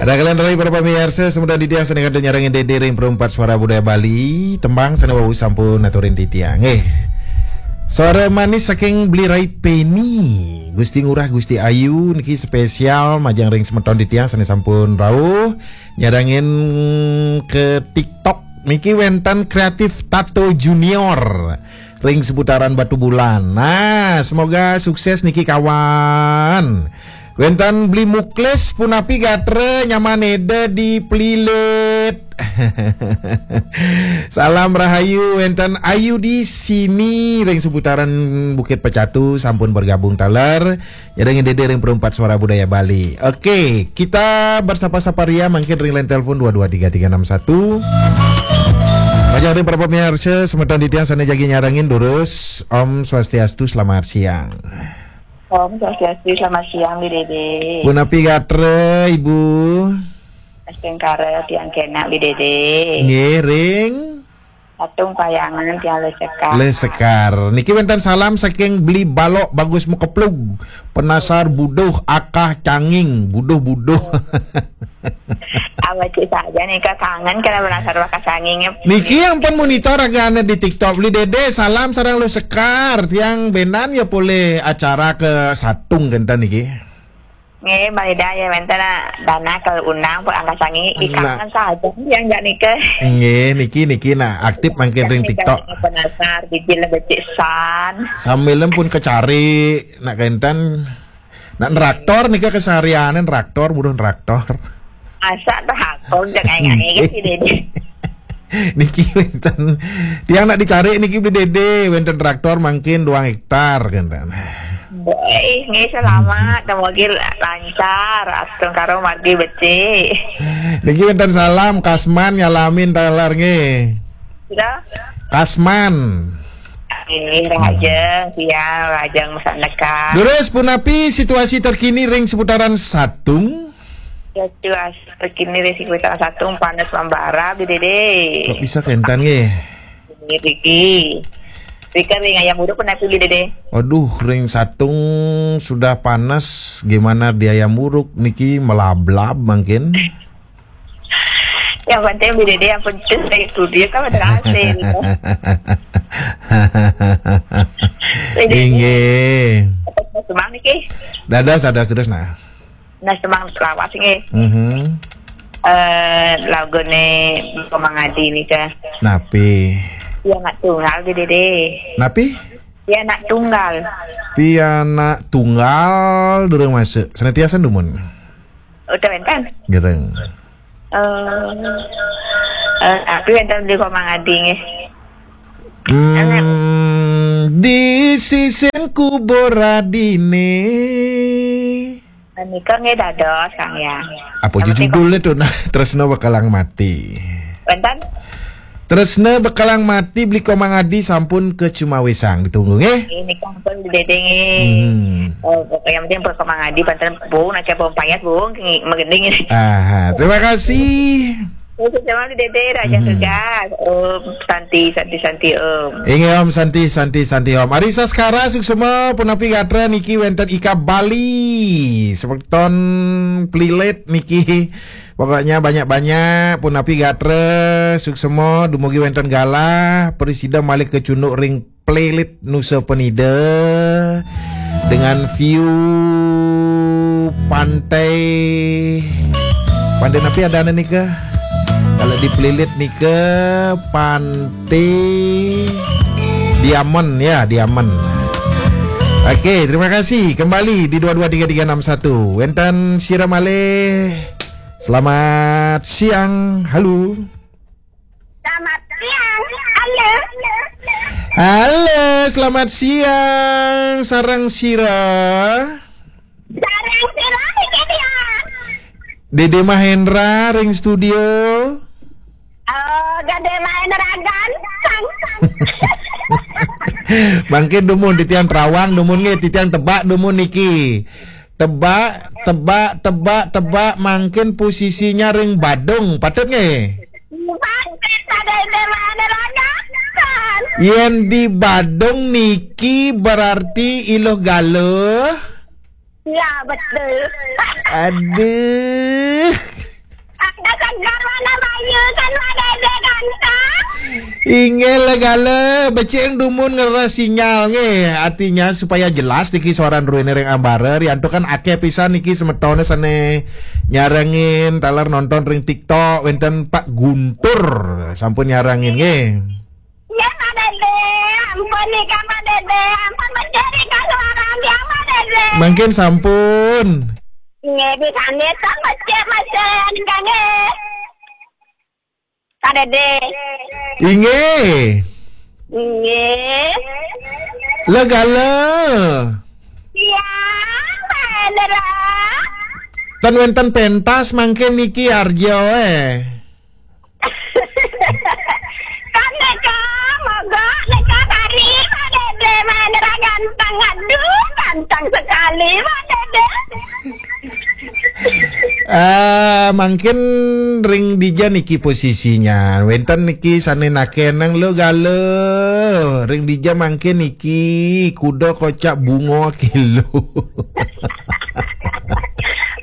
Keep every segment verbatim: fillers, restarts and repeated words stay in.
Ragalan rai para pamiarsa, semeton titiang sane kantun nyarengin Dede ring Perempat Suara Budaya Bali, tembang sane wau sampun aturin titiang. Nggih. Suara manis saking Beli Rai Peni, Gusti Ngurah, Gusti Ayu, niki spesial majeng ring semeton titiang sane sampun rauh nyarengin ke TikTok. Niki wenten Kreatif Tato Junior ring seputaran Batubulan. Nah, semoga sukses niki kawan. Wenten Beli Muklis, punapi gatra, nyaman Ida di Pelilit. Salam rahayu, wenten Ayu di sini ring seputaran Bukit Pecatu sampun bergabung taler. Nyarengin Dede ring Perempat Suara Budaya Bali. Oke, kita bersapa-sapa ria mangkin ring line telepon dua dua tiga tiga enam satu. Majeng ring para pamiarsa, semeton titiang sane jagi nyarengin durus. Om Swastiastu, selamat siang. Om Swastiastu, selamat siang, Bi Dede. Punapi gatra, Ibu? Astungkara tiang kenak, Bi Dede. Nggih, ring? Patung Payangan tiang Lesekar. Lesekar. Niki wenten salam saking Beli Balok Bagus Mukeplug. Penasar buduh akah canging, buduh-buduh. Awak cik saja nih, Kak, kangen kena penasar akah canging. Niki yang pun monitor ragane di TikTok, Beli Dede, salam sareng Lesekar. Tiang benan ya polih acara ke Satung kenten niki. Nggih, Bang Ida, ya, wenten dana ke undang pun angkat sangi, ih, nah, kangen saja yang jak nikah. Nggih, niki, niki, nah, aktif mangkin ring TikTok. Penasar, biji lebih san. Sambil pun kecari, nak kenten, nak neraktor nika keseharian, neraktor, buruh neraktor. Asa traktor, jangan nyanyi, kan, sini. Niki wenten, tiang nak dicari niki Beli Dede, wenten traktor mangkin duang hektar, kenten. Baik, nggih, selamat. Dumogi lancar, astungkara margi becik. Niki wenten salam, Kasman nyalamin taler nggih. Sudah? Kasman. Nggih, rahajeng, siang, rahajeng masyarakat. Durus, punapi situasi terkini ring seputaran Satung? Situasi terkini ring seputaran Satung panas membara, Bi Dede. Kok bisa kenten nggih? Nggih, Riki. Rika ring Ayam Uruk pernah pilih, Dede? Aduh, ring Satung sudah panas, gimana di Ayam Uruk niki melablab mangkin? Yang penting, Bi Dede, yang penting dari studio kan ada hasil. Bi Dede. Inggih. Semang niki. Dados, dados terus, nah. Nah, semang lawas nggih. Mhm. Eh, lagune Komang Adi nika. Napi? Ya, anak tunggal, Bi Dede. Napi? Ya, anak tunggal. Pianak tunggal durung masuk. Senantiasa dumun. Udah wenten? Gereng. Eh, eh, tapi wenten di Komang Adi nggih. Hmm, di sisin kubur adine. Menika nggih dados, Kang, ya. Apa judulnya tuh? Nah, Tresna Bekalang Mati. Wenten? Tresna Bekalang Mati, Beli Komang Adi sampun kecumawisang. Ditunggu nggih. Ini kan pun Bi Dede nggih. Hmm. Oh, pokoknya penting pun Komang Adi, panten, Bu, nak siapa payas, Bu, nggih, megending ini. Aha, terima kasih. Oke, sama Bi Dede, Raja Tugas. Om Santi, Santi, Santi, Om. Inggih, Om Santi, Santi, Santi, Om. Arisa Skara, suksma, punapi gatra niki wenten Ika Bali. Semeton Pelilit niki. Pokoknya banyak-banyak, punapi gatra, suksma, dumugi wenten galah, prasida malih kacunduk ring Pelilit Nusa Penida dengan view pantai. Pantai napi adane nika? Kalau di Pelilit nika, Pantai Diamond, ya, Diamond. Oke, terima kasih. Kembali di dua dua tiga tiga enam satu. Wenten sira malih. Selamat siang. Halo. Selamat siang. Halo. Halo, selamat siang. Sareng sira. Sareng sira, iki dia. Dede Mahendra ring studio. Oh, Dede Mahendra ganteng. Mangkin dumun titiang Terawang, dumun nggih, titiang Tebak, dumun niki. Tebak, Tebak, Tebak, Tebak, mangkin posisinya ring Badung, patut nggih? Mangkin pada Dede Mahendra ganteng. Yen di Badung niki berarti Iluh Galuh. Ya, betul. Aduh. Inggih, legala, becik dumun ngeres sinyal nggih. Artinya supaya jelas niki suaran ruene ring ambara, riantukan akeh pisan niki semetoné sane nyarengin taler nonton ring TikTok, wenten Pak Guntur sampun nyarengin nggih. Nggih, Pak Dede, ampun nika Pak Dede, ampun becik nika suaran tiang Pak Dede. Mangkin sampun. Nggih, pisan nggih, becik becik nika nggih. Pak Dede. Inggih. Inggih. Legala. Iya, Pak Hendra. Ten wenten pentas mangkin niki arjo eh. Kan neka mogok neka tari Pak Dede, Pak Hendra ganteng. Aduh, ganteng sekali Pak Dede. Eh, mangkin ring dija niki posisinya. Wenten niki sane nakenang legala. Ring dija mangkin niki kuda kocak bunga kilo.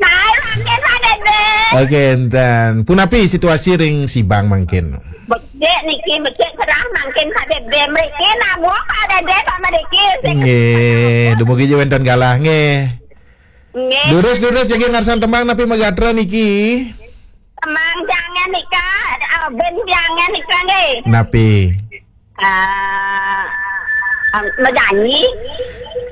Nah, mangkin Pak Dede. Oke, enten. Punapi situasi ring Sibang mangkin? Becik niki, becik cerah mangkin Pak Dede. Mriki nabuh Pak Dede sama niki. Nggih, dumugi ja wenten galah nggih. Nggih. Durus, durus, jagi ngarsan tembang napi magatra niki? Tembang jangan nika, Abin jangan nika nggih. Napi? Ah, ah, menyanyi.